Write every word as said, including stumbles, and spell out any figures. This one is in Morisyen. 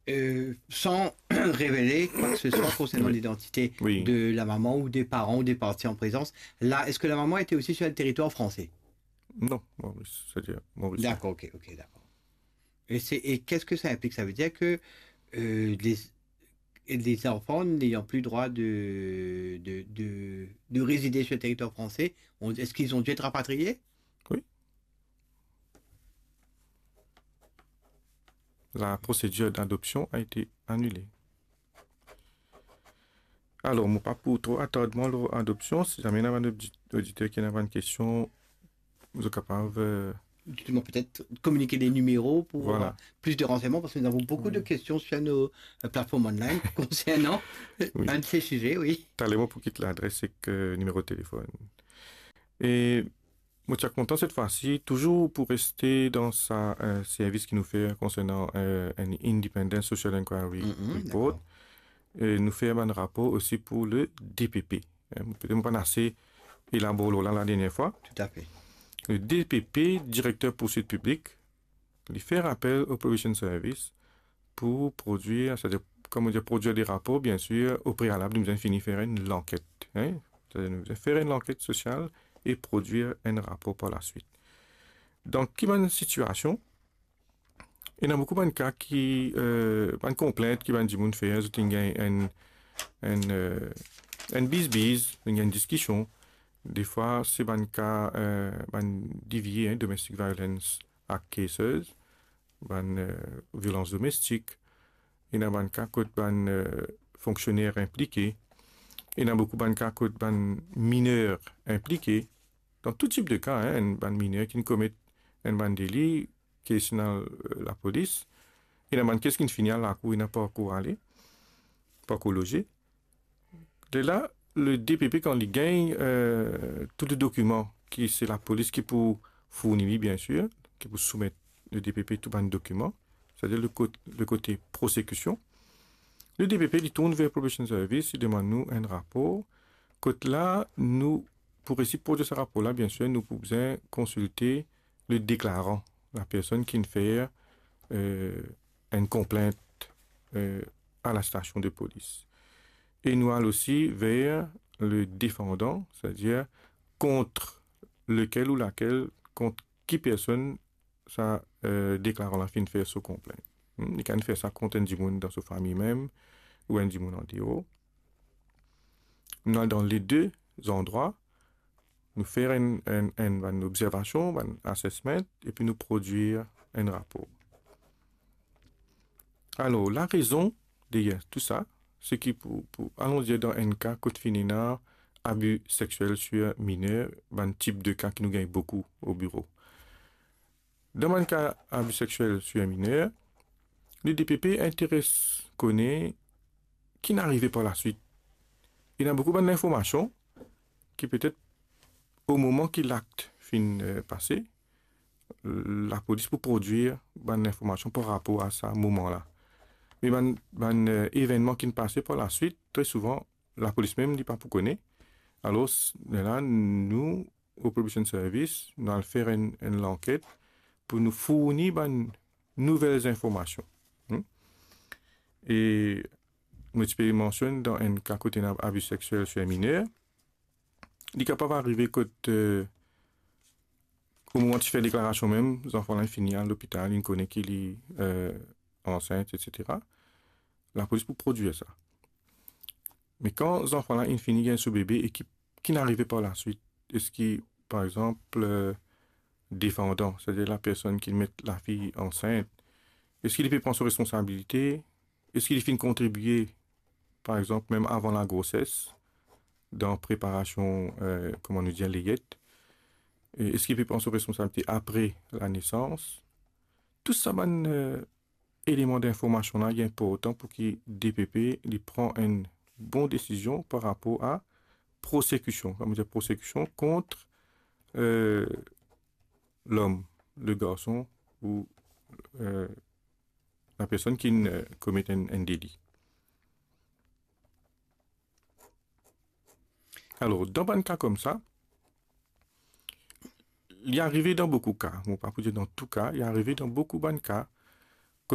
Euh, sans révéler quoi que ce soit concernant l'identité de la maman ou des parents ou des parties en présence. Là, est-ce que la maman était aussi sur le territoire français ? Non, Maurice, c'est-à-dire Maurice. D'accord, ok, ok, d'accord. Et c'est, et qu'est-ce que ça implique ? Ça veut dire que, euh, les, et les enfants n'ayant plus droit de, de, de, de résider sur le territoire français, on, est-ce qu'ils ont dû être rapatriés ? Oui. La procédure d'adoption a été annulée. Alor, mo pa pou tro atard mwa lor adopsion. Si zame ena bann odit-, oditer ki ena bann kestion, zot kapav, euh, Justement, peut-être communiquer des numéros pour avoir plus de renseignements, parce que nous avons beaucoup de questions sur nos, euh, plateformes online concernant un de ces sujets, oui. Taler mo pou kit ladres ek, euh, nimero telefonn. E mo ti a kontan set fwa si, touzour pou reste dan sa, euh, servis ki nou fer konsernan, euh, enn Independent Social Inquiry Report, euh, nou fer bann rapor osi pou le D P P. Hein, petet mo pa'nn ase elabor lor la, la dernie fwa. Tout à fait. Le D P P, Directeur Poursuite Publique, li fer apel au Probation Service pou prodwir, c'est-à-dire, kouma dir, prodwir de rapor, bien sûr, au préalable, nou bizin fini fer enn lanket, hein? C'est-à-dire, nou bizin fer enn lanket sosial e prodwir enn rapor par la suite. Dan ki bann sitiasion, ena boukou bann ka ki, euh, bann konplint ki bann dimoun fer, zot inn gagn enn, enn, euh, enn bizbiz, inn gagn diskision. Defwa, se bann ka, euh, bann D V A, hein, Domestic Violence Act cases, bann, euh, violans domestik. Ena bann ka kot bann, euh, fonksioner inplike. Ena boukou bann ka kot bann miner inplike. Dan tou tip de ka, hein, enn bann miner ki'nn komet enn bann deli, kes inn al, euh, lapolis, ena bann kes ki'nn fini al lakour, ena pa ankor ale, pa ankor loze. Lerla, le D P P, kan li gagn, euh, tou le dokiman ki se lapolis ki pou fourni li, bien sûr, ki pou soumet le D P P tou bann dokiman, c'est-à-dire le kot-, le kote prosekision, le D P P, li tourn ver Probation Service, li demann nou enn rapor. Kot la, nou, pou resi prodwir sa rapor la, bien sûr, nou pou bizin konsilte le deklaran, la personn ki'nn fer, euh, enn konplint, euh, a la stasion de polis. E nou al osi ver le defandan, c'est-à-dire kont lekel ou lakel, kont ki personn sa, euh, deklaran la finn fer so konplint. Hmm, li kapav fer sa kont enn dimoun dan so fami mem, ou enn dimoun an deor. Nou al dan le de zandrwa, nou fer enn, enn, enn, bann observasion, bann assessment, epi nou prodwir enn rapor. Alor, larezon deryer tou sa, se ki pou, pou, alon dir, dan enn ka kot finn ena abi seksiel sir miner, bann tip de ka ki nou gagn boukou o biro. Dan bann ka abi seksiel sir miner, le D P P interes kone ki'nn arive par la suite. Ena boukou bann linformasion ki petet o moman ki lakt finn, euh, pase, lapolis pou prodwir bann linformasion par rapor a sa moman la. Me bann, bann, euh, evennman ki'nn pase par la suite, tre souvan, lapolis mem, li pa pou kone. Alor, s-, lerla, nou, o Probation Service, nou al fer enn, enn lanket pou nou fourni bann nouvel zinformasion. Hmm? E mo ti pe mansionn dan enn ka kot ena abi seksiel sir miner, li kapav arive kot, euh, o moman ti fer deklarasion mem, zanfan la fini al lopital, li kone ki li, euh, ansint, et cetera. Lapolis pou prodwir sa. Me kan zanfan la inn fini gagn so bebe e ki, ki'nn arive par la suite? Eski, par exanp, euh, defandan, c'est-à-dire la personn ki met lafi ansint, eski li pe pran so responsabilite? Eski li finn kontribie, par exanp, mem avan lagroses, dan preparasion, euh, kouma nou dir, leyet? E eski li pe pran so responsabilite apre lanesans? Tou sa bann, euh, eleman dinformasion la, li inportan pou ki D P P li pran enn bon desizion par rapor a prosekision, kouma dir, prosekision kont, euh, lom, le garson ou, euh, la personn ki, euh, komet enn, enn deli. Alor, dan bann ka koumsa, li arive dan boukou ka, mo pa pou dir dan tou ka, li arive dan boukou bann ka,